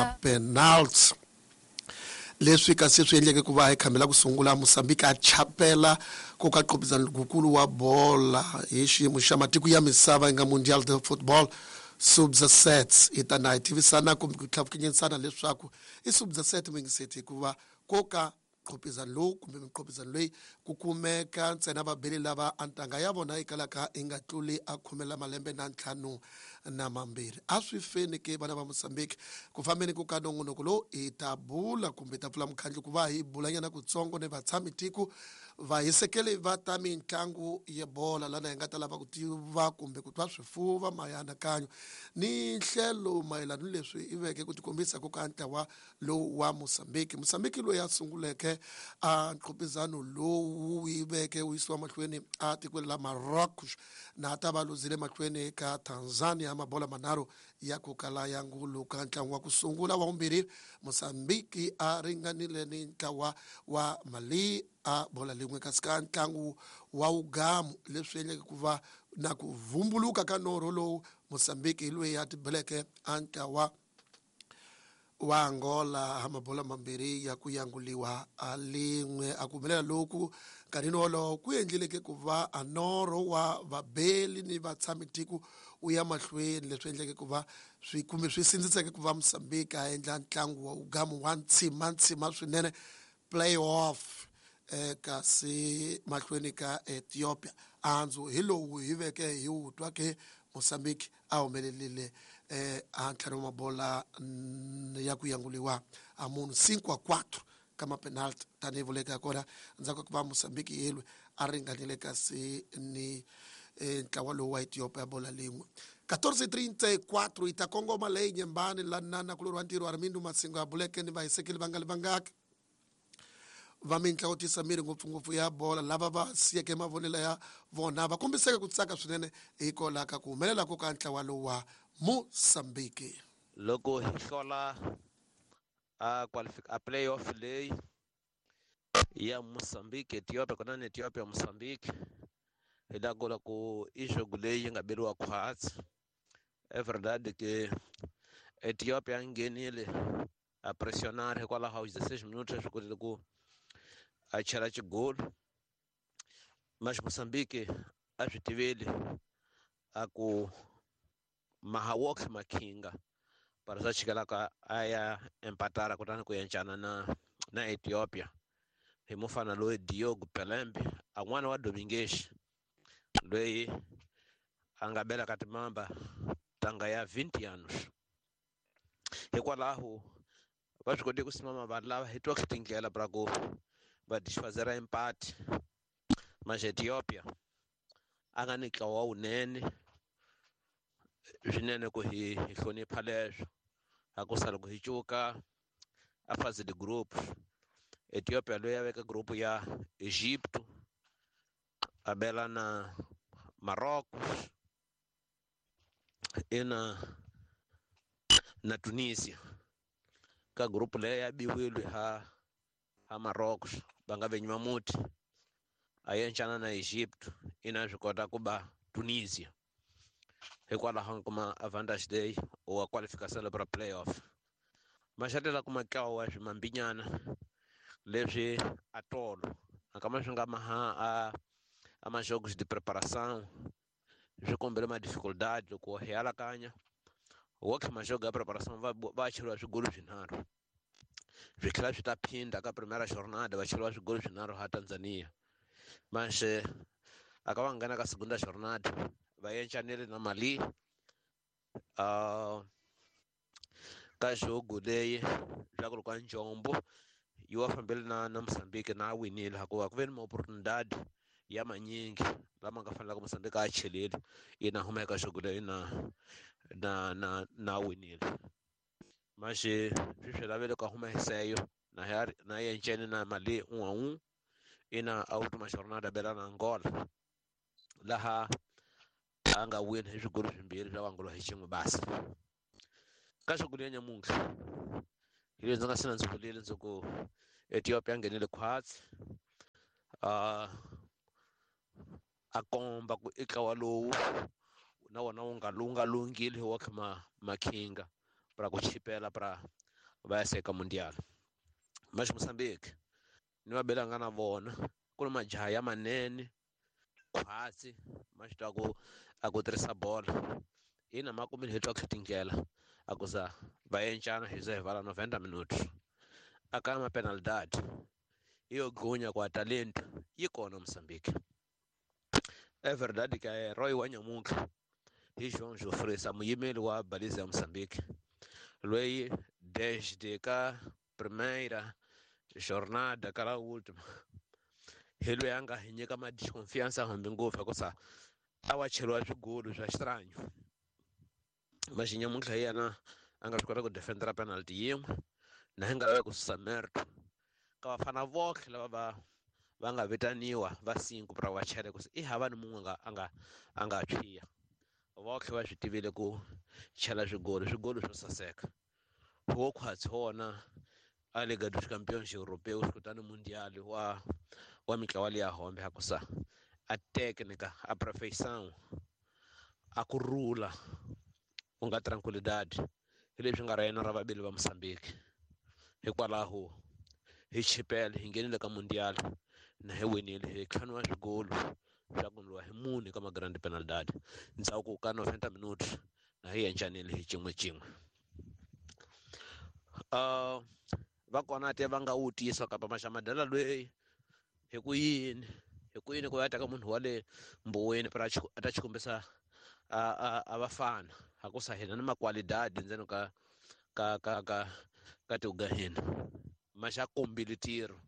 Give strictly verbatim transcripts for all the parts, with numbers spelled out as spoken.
ma-penalty leswi kasi swi endleke ku va hi khambela ku sungula Mozambique a chapela ku ka qopizana lukulu wa bola hi xiyimo xa matiko ya misava yi nga Mundial de Football Sub-dezessete. Hi ta na hi tivisana kumbe ku tlhavukenyisana leswaku i sub-dezessete mingiseti hikuva ko ka qopizana lowu kumbe miqopizano leyi ku kumeka ntsena vabeli lava a ntanga ya vona yi kalaka yi nga tluli a khume la malembe na ntlhanu na mambirhi. A swi feni ke vana va Mozambique ku fambeni ku ka nongonoko lowu hi ta bula kumbe hi ta pfula mukhandlu ku va hi bulanyana kutsongo ni vatshami tiko vahisekeli va ta mitlangu ya bola lana hi nga ta lava ku tiva kumbe ku twa swifuva mianakanyo ni nhlelo mayelana ni leswi i veke ku tikombisa ku ka ntlawa lowu wa Mozambique. Mozambique loyi a sunguleke a nqopizano lowu yi veke wu yisiwa mahlweni a tikweni la Marocos na ta va luzile mahlweni ka Tanzania mabola manharhu ya ku kala ya ngulu ka ntlangu wa ku sungula. Wa vumbirhi Mozambique a ringanile ni ntlawa wa Mali a bola lin'we kasi ka ntlangu wa wugamu leswi endleke ku va na ku vumbuluka ka norho lowu Mozambique hi loyi a tibeleke a ntlawa wa Angola ha mabola mambirhi ya ku yanguliwa a lin'we. A ku humelela loku nkarhini wolowo ku endlileke ku va a norho wa vabeli ni vatshami tiko wu ya mahlweni leswi endleke ku va swi kumbe swi sindziseke ku va Mozambique a endla ntlangu wa wugamu wa ntshima ntshima swinene playoff eh, kasi mahlweni ka Ethiopia. Anzu hi lowu hi veke hi wu twa ke Mozambique a humelelile eh, a ntlhanu wa mabola ya ku yanguliwa a munhu cinco a quatro ka ma-penalty tanihi vuleka kona ndzhaku ka ku va Mozambique yelwe a ringanile kasi ni eh, ntlawa lowu wa Ethiopia bola lin'we. quatorze trinta e quatro yi ta kongoma leyi nyembani la nana kulori wa ntirho Armindo Masingo a buleke ni vahisekeli va nga li vangaki va mintlawa tisa miri ngopfungopfu ya bola lava va siyeke mavonelo ya vona va kombiseke ku tsaka swinene hikwalaho ka ku humelela ko ka ntlawa lowu wa Mozambique. Loko hi hlola a qualific a playoff leyi ya Mozambique Ethiopia kona ni Ethiopia Mozambique hi la ku ku i jogo leyi nga beriwa khwatsi. É verdade que Ethiopia nghenile a pressionar hikwalaho ka dezesseis minutos swi kotile ku a chela xigolo mas Mozambique a swi tiveli a ku mahawok makhinga para sa chikelaka a ya empatara kutani ku encana na na Ethiopia hi mufana loyi Diogo Pelembe a n'wana wa Domingues loyi a nga bela ka timamba tanga ya vinte anos. Hikwalaho va swi kotile ku simama vanhu lava hi twa tindlela pra ku va desfazera empate mas Ethiopia a nga ni ntlawa wunene swinene ku hi hi hlonipha leswo a ku sala ku hi cuka a fase de group. Ethiopia loyi a veka group ya Egypto a bela na Marrocos ina na Tunisia ka group leyi ya biwile ha ha Marrocos va nga venyi mamuti a yencana na Egypto ina swi kota ku ba Tunisia hikwalaho kuma advantage day wa qualification para playoff. Maxatela kuma tlawa wa swimambinyana leswi atolo akama swi nga maha a a majogos de preparação swi kombele ma dificuldade loko hi alakanya wo majogo ya preparação va va cheriwa swigolo swinharhu swi tlhela swi ta phinda ka primeira jornada va cheriwa swigolo swinharhu ha Tanzania manxe aka va nghena ka segunda jornada va yencanile na Mali uh, ka jogo leyi swa ku ri ka njombo yi wa fambele na na Mozambique na winile hikuva ku ve ni ma-oportunidade ya manyingi lama nga fanelaka Mozambique a cheleli ina huma eka jogo leyi na na na na winile manje swi swi lavele ka huma hiseyo na ya na yencene na Mali um a um ina a última jornada bela na Angola laha a nga wina hi swigolo swimbirhi swa Angola hi xin'we basi. Ka jogo leyi ya nyamuntlha hi leswi ndzi nga sina ndzi vulile ndzi ku Ethiopia nghenile khwatsi uh, a komba ku i ntlawa lowu na wona wu nga wu nga lunghile wa kha ma makhinga para ku chipela para Va ya seka Mundial. Mas Moçambique ni va belanga na vona ku ri majaha ya manene khwatsi ma swi twa ku a ku tirhisa bolo ina ma kumile hi twa ku tindlela a ku za va encana hi ze hi vala noventa minutos aka ma penalidade iyo gunya kwa talento yi kona Moçambique. É verdade que é herói wa nyamuntlha hi João Jofre muyimeli wa baliza ya Moçambique loyi desde ka primeira jornada kala última hi loyi a nga hi nyika ma desconfiança hambi ngopfu hikusa a wa cheriwa swigolo swa xitranyo mas nyamuntlha hi yena a nga swi kota ku defendera penalty yin'we na hi nga lavi ku susa merto ka vafana votlhe lava va va nga vitaniwa va cinco pra va chele ku i hava ni mun'we nga a nga a nga tshwiya votlhe va swi tivile ku chela swigolo swigolo swo saseka wo khwatsi wona a Liga dos Campeões Europeus kutani Mundial wa wa mitlawa liya hombe hakusa a técnica a perfeição a ku rula ku nga tranquilidade hi leswi nga ra yena ra vavili va Moçambique hikwalaho hi chipele hi nghenile ka Mundial na hi winile hi ntlhanu wa swigolo swa ku ndliwa hi mune ka ma-grand penalidade ndzhaku ka noventa minutos na hi encanile hi xin'we xin'we. Uh, va kona te va nga wu tisa kapa maxamadela loyi hi ku yini hi ku yini ku ya teka munhu wa le mbuweni para a ta xikombisa a a a vafana hakusa hina ni makwalidadi ndzeni ka ka ka ka ka tiuga hina maxa kombile tiro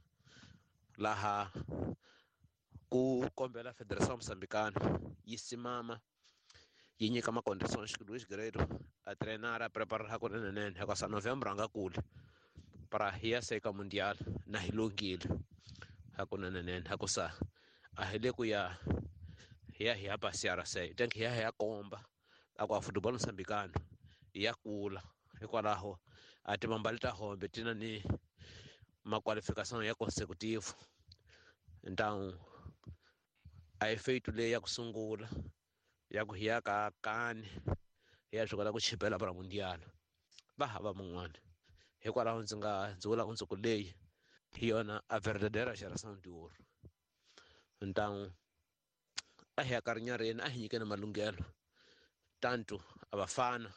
laha ku kombela Federação Moçambicana yi simama yi nyika ma-condições que Luís Guerreiro a treinar a preparar hakunene hikusa Novembro a nga kuli para hi ya seka Mundial na hi lunghile hakunene hakusa a hi le ku ya hi ya hi ya passear se tem que hi ya hi ya komba a ku a futebol moçambicano ya kula hikwalaho a timambali ta hombe ti na ni ma-qualificação ya consecutivo então a hi feito leyi ya ku sungula ya ku hi ya ka kani hi ya swi kota ku chipela para Mundial va hava mun'wana hikwalaho ndzi nga ndzi vula ndzi ku leyi hi yona a verdadeira geração de ouro. Então a hi ya karinyareni a hi nyikeni malunghelo tanto a vafana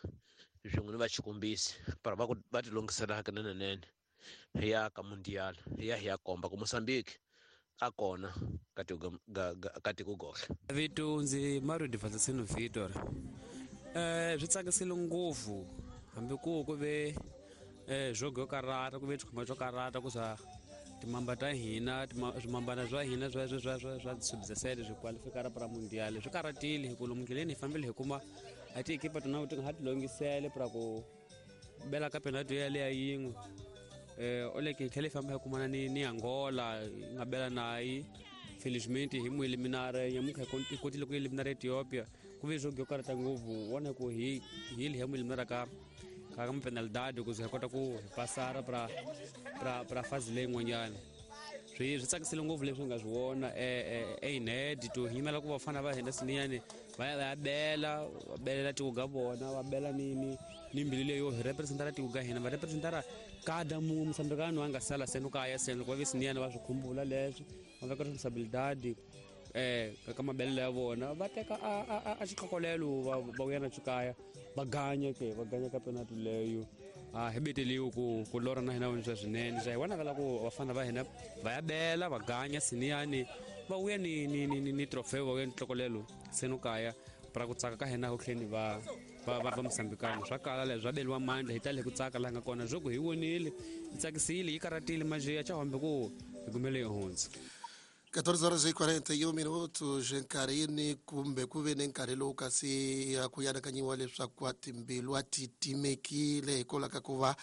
swin'we ni va xikombisi para va ku va ti lunghisela hakunene hi ya ka Mundial hi ya hi ya komba ku Moçambique a kona ka tiko ka tiko gohle. Vito ndzi Mario Divatasino Vitor. Eh swi tsakisile ngopfu hambi ku ku ve eh jogo yo karata ku ve xikhoma xo karata ku swa timamba ta hina swimambana swa hina swa swa swa swa sub-dezessete swi qualifikara para Mundial swi karatile hi ku lomu ndleleni hi fambile hi kuma a tiekipa tona ti nga ha ti longisele para ku bela ka penalty yaleya yin'we. Eh oleke hi tlhela hi famba hi kumana ni ni Angola hi nga bela nayi felizmente hi mu eliminare nyamuntlha hi kotile ku eliminara Ethiopia ku ve jogo yo karata ngopfu vona ku hi hi hi mu eliminara ka ka ma-penalidade ku ze hi kota ku hi pasara pra pra pra fazi leyin'wanyana. Swi swi tsakisile ngopfu leswi hi nga swi vona eined to hi yimela ku vafana va hina siniyani va ya va ya bela va belela tiko ga vona va bela ni ni ni mbilu leyo hi representara tiko ga hina va representara kada munhu Moçambicano a nga sala seno kaya seno loko va ve siniyani va swi khumbula leswi va veka responsabilidade eh ka mabelelo ya vona va teka a a a xikhokolelo va va vuya na xikaya va ganya ke va ganya ka penalty leyo a hi beteliwe ku ku lora na hina swa swinene swa hi vona vela ku vafana va hina va ya bela va ganya siniyani va vuya ni ni ni ni trofeo va vuya ni tlokolelo seno kaya para ku tsaka ka hina ku tlheni va va va va Moçambicano swa kala leswi swa beliwa mandla hi tale ku tsaka laha nga kona swo ku hi vonile yi tsakisile yi karatile maje ya chahombe ku hi kumele yi hundza. catorze horas e quarenta e um minutos nkarhini kumbe ku ve ni nkarhi lowu kasi ku anakanyiwa leswaku a timbilu a ti timekile hikwalaho ka ku va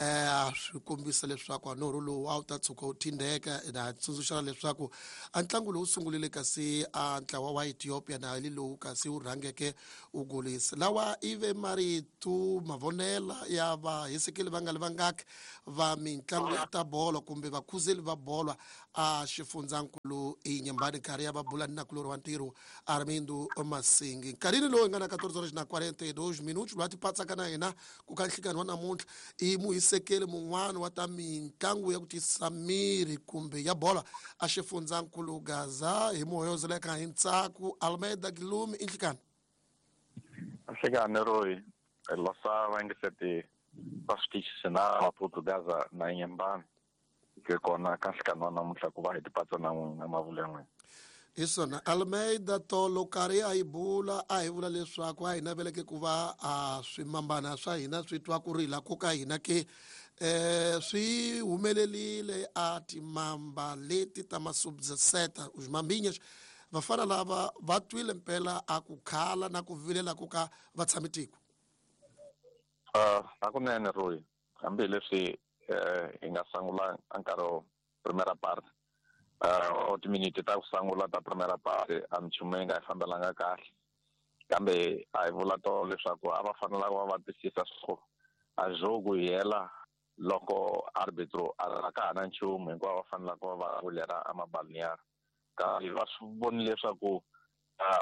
um swi kombisa leswaku a norho lowu a wu ta tshuka wu thindeka na tsundzuxana leswaku a ntlangu lowu sungulile kasi a ntlawa wa Ethiopia na hi lowu kasi wu rhangeke wu golisa lawa i ve marito mavonela ya vahisekeli va nga li vangaki va mitlangu ya ta bolo kumbe vakhuzeli va bolo a xifundzankulu. nkulu Inhambane nkarhi ya va bula ni nakulorhi wa ntirho Armindo Masingi. Nkarhini lowu hi nga na quatorze horas na quarenta e dois minutos loyi a tipatsaka na hina ku ka nhlikani wa namuntlha i muhisekeli mun'wana wa ta mitlangu ya ku tisa miri kumbe ya bola a xifundzankulu Gaza hi muhoyozeleka hi ntsako Almeida Guilherme i nhlikani. Nhlikani Roy losa va va switichi na Maputo Gaza na Inhambane ke kona ka nhlikani wa namuntlha ku va hi tipatsa na n'wina mavula ya n'wina. Hi swona Almeida tolo karhi a yi bula a hi vula leswaku a hi naveleke ku va a swimambana swa hina swi twa ku rila ko ka hina ke eh swi humelerile a timamba leti ta masubseta os mambinhas vafana lava va twile mpela a ku khala na ku vilela ku ka va tshami tiko. Uh, hakunene Roy, hambileswi eh hi nga sungula nkarhi primera parte uh o timinete ta ku sungula ta primera parte a minchumu yi nga yi fambelanga kahle, kambe a hi vula to leswaku a va fanelanga va va twisisa swo a jogo yi hela loko arbitro a ka ha na nchumu hinkwavo va fanelaka va va vulera a mabalnear kambe va swi vonile leswaku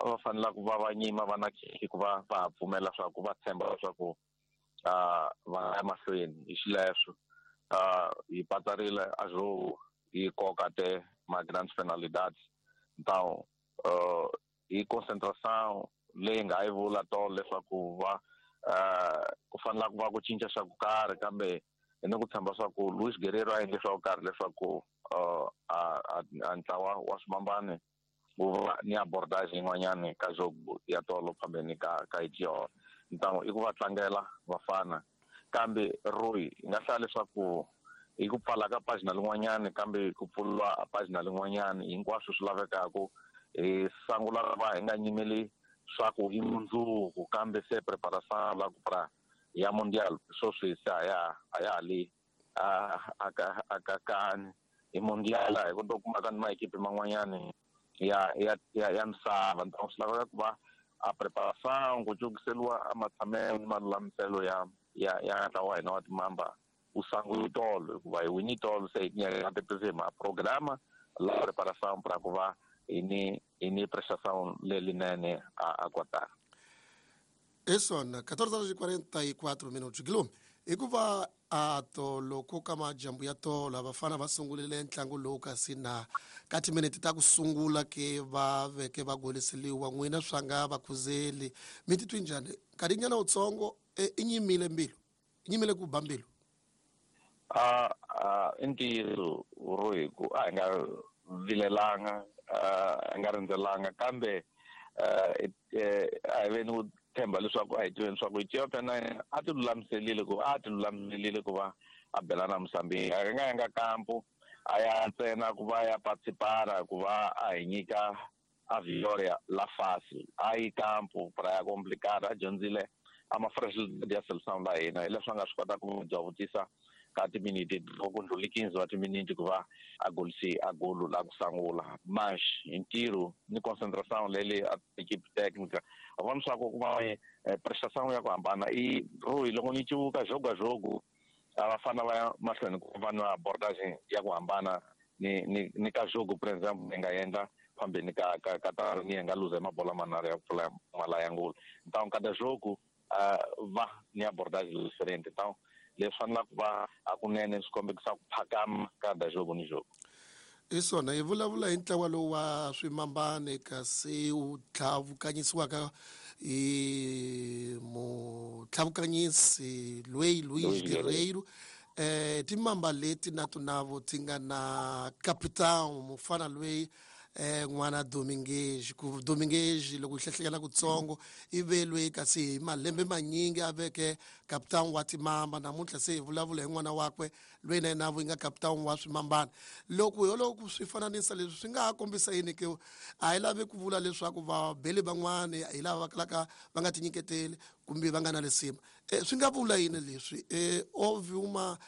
va fanelaka va va nyima va na khekhe ku va va ha pfumela leswaku va tshemba leswaku uh va ya mahlweni hi xileswo. Uh hi patsarile a jogo hi koka te ma grandes penalidades então uh hi concentração leyi nga yi vula to leswaku va uh ku fanela ku va ku cinca swa ku karhi kambe hi ni ku tshemba swa ku Luis Guerrero a endle swa ku karhi leswaku uh a a ntlawa wa swimambane wu va ni abordage yin'wanyani ka jogo ya tolo phambeni ka ka Ethiopia. Então i ku va tlangela vafana kambe Roy hi nga hlaya leswaku hi ku pfala ka pagina lin'wanyani kambe ku pfuriwa pagina lin'wanyani hinkwaswo swi lavekaku hi sungula va hi nga nyimeli swa ku i mundzuku kambe se preparação la ku pra ya mundial sweswi se a ya a ya ha le a a ka a ka kani hi mundial hi ku to kuma ka ni maekipi man'wanyani ya ya ya misava. Então swi laveka ku va a preparação ku cukiseliwa a matshamelo ni malulamiselo ya ya ya ntlawa wa hina wa timamba u sungula tolo hikuva hi wini tolo se hi tinyaka ma programa la preparação para ku va hi ni hi ni prestação lelinene a a Qatar. Hi swona quatorze horas e quarenta e quatro minutos Guilherme hikuva a tolo ku ka majambu ya tolo vafana va sungurile ntlangu lowu kasi na ka timinete ta ku sungula ke va veke va goliseliwa n'wina swa nga va khuzeli mi titwi njhani nkarhinyana wutsongo i nyimile mbilu i nyimile ku ba mbilu? A a i ntiyiso Roy ku a hi nga vilelanga a hi nga rindzelanga kambe a hi veni ku tshemba leswaku a hi tiveni leswaku Ethiopia na yena a ti lulamiselile ku a ti lulamiselile ku va a bela na Mozambique a nga yanga kampo a ya ntsena ku va ya participara ku va a hi nyika a Vioria la fácil a yi kampo para ya complicada a dyondzile a ma fragilidade ya seleção la hina hi leswi a nga swi kota ku dyavutisa ka timinete loko ndlhuli quinze wa timinete ku va a golisi a golo la ku sungula mas hi ntirho ni concentração leyi a equipe técnica a vona swa ku ku va prestação ya ku hambana i Roy loko ni civuka jogo a jogo a va fana va ya mahlweni ku va na abordage ya ku hambana ni ni ni ka jogo por exemple ni nga endla phambeni ka ka ka ta ni nga luza mabola manharhu ya ku pfula mala ya ngolo então kada jogo va ni abordage diferente então leswi fanelaka ku va hakunene swi kombekisa ku phakama ka jogo ni jogo. Hi swona hi vulavula hi ntlawa lowu wa swimambane kasi wu tlhavukanyisiwaka hi mutlhavukanyisi loyi Luis Guerreiro eh timamba leti na tunavo ti nga na capitão mufana loyi eh n'wana Domingues ku Domingues loko hi hlehlekela kutsongo i ve loyi kasi hi malembe manyingi a veke capitão wa timamba namuntlha se hi vulavula hi n'wana wakwe loyi na yena yi nga capitão wa swimambana. Loko ho loko swi fananisa leswi swi nga ha kombisa yini ke a hi lavi ku vula leswaku vabeli van'wani hi lava va kalaka va nga tinyiketeli kumbe va nga na lisima swi nga vula yini leswi houve uma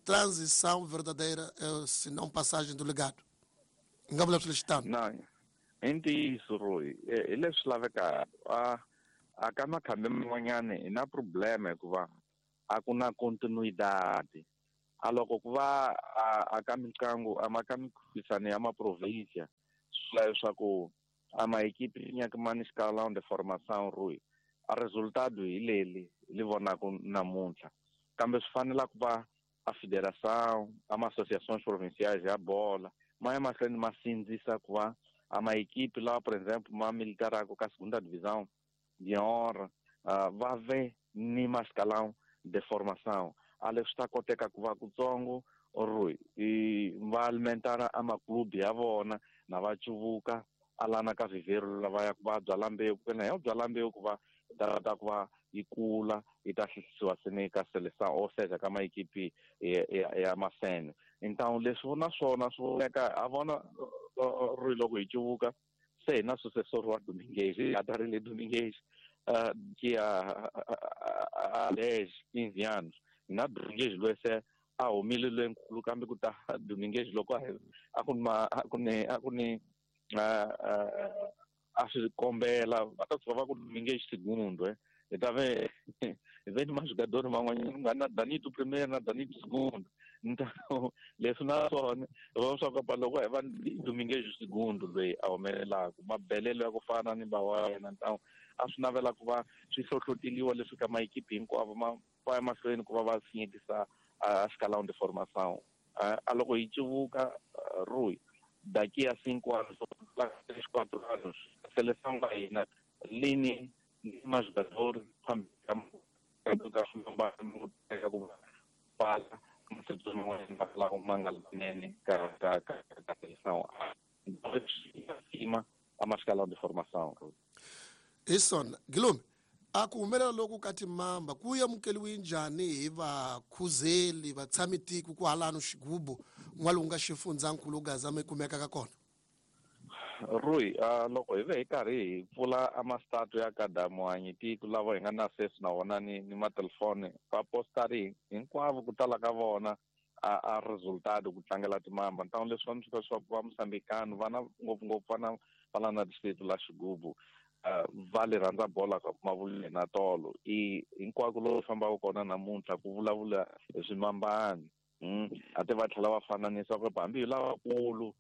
transição verdadeira se não passagem do legado nga vula swilo xitano? Na i ntiyiso Roy hi leswi lavekaka a a ka makhambi man'wanyani hi na problema hikuva a ku na continuidade A loko ku va a ka mitlangu a ma ka mikhuphisano ya maprovinsia swi vula leswaku a maekipi nyaka ma ni escalão de formação Rui a resultado hi leli li vonaka namuntlha kambe swi fanela ku va a federação a ma associações provinciais ya bola ma ya mahlweni ma sindzisa ku va a maekipi lawa por exemplo ma militaraka ka segunda divisão de honra uh, va ve ni ma escalão de formação a leswi ta koteka ku va kutsongo Rui i va alimentara a maklubi ya vona na va cuvuka alana ka vivero lava ya ku va byala mbewu ku na ya byala mbewu ku va ta ta ku va yi kula yi ta hlisiwa sene ka seleção ou seja ka maekipi ya, ya, ya masene então leswi na swona swi voneka a vona Rui loko hi cuvuka se hi na sucessor wa Dominguez a ta ri le Dominguez uh, que a, a, a dez, quinze anos na Dominguez loyi se a humile loyinkulu kambe ku ta Dominguez loko a a ku ma a ku ni a ku ni a swi kombela va ta tshuka va ku Dominguez segundo eh hi ta ve hi ve ni majogador man'wanyana ku nga na Danito primeiro na Danito segundo então leswi na swona va swa ku loko hi va Dominguez segundo loyi a humelelaka mabelelo ya ku fana ni ba wa yena então a swi navela ku va swi hlohloteliwa leswi ka maekipi hinkwavo ma va ya mahlweni ku va va sinyekisa a escalão de formação a loko hi cuvuka Rui daqui a cinco anos três quatro anos a seleção da hina lini ni majogador ka ka ka seleção acima a escalão de formação. Ison Guilherme a ku humelela loku ka timamba ku amukeliwe njhani hi vakhuzeli vatshami tiko ku halano xigubu n'walungu xifundzankulu Gaza mi kumeka ka kona? Rui uh, loko hi ve hi karhi hi pfula a mastatu ya ka Muhanyi tiko lava hi nga na access na wona ni ni matelefoni va postari hinkwavo ku tala ka vona a, a resultado ku tlangela timamba então leswi va swi leswaku va Mosambikano vana ngopfungopfu vana va la na distrito la Xigubu Uh, va le rhandza bola ka mavuleni na tolo i hinkwako lowu fambaka kona namuntlha ku vulavula hi swimambani mm. a ti va tlhela va fananisa ku hambi hi lavakulu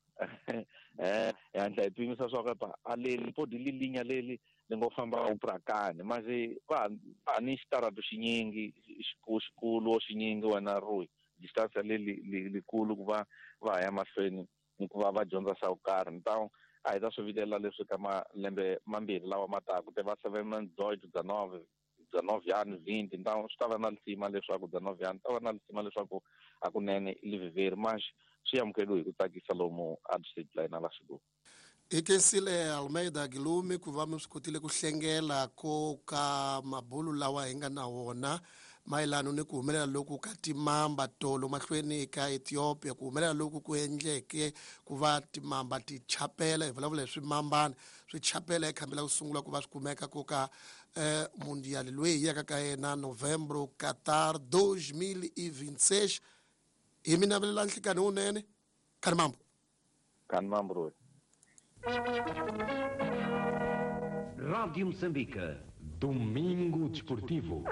eh hi hatla hi pimisa swa ku a leli podi lilinya leli li ngo famba uprakani manje va va ni xitarato xinyingi xikulu xinyingi wena Rui distance leli likulu ku va va ya mahlweni ni ku va va dyondza swa ku karhi então a hi ta swi vilela leswi ka malembe mambirhi lawa ma taka te va seven dezoito dezenove dezenove anos vinte então swi ta va na lisima leswaku dezenove anos ta va na lisima leswaku hakunene i liviveri mas swi amukeriwe hi ku tsakisa lomu a district la hina la Xigubu. Hi khensile Almeida Guilherme ku va mi swi kotile ku hlengela ko ka mabulu lawa hi nga na wona mayelana ni ku humelela loku ka timamba tolo mahlweni ka Ethiopia ku humelela loku ku endleke ku va timamba ti chapela hi vulavula hi swimambana swi chapela ekhambela ku sungula ku va swi kumeka ko ka eh, mundial loyi hi yaka ka yena Novembro Qatar dois mil e vinte e seis hi mi navelela nhlikani wunene khani mambo khani mambo Rui. Rádio Moçambique, Domingo Desportivo.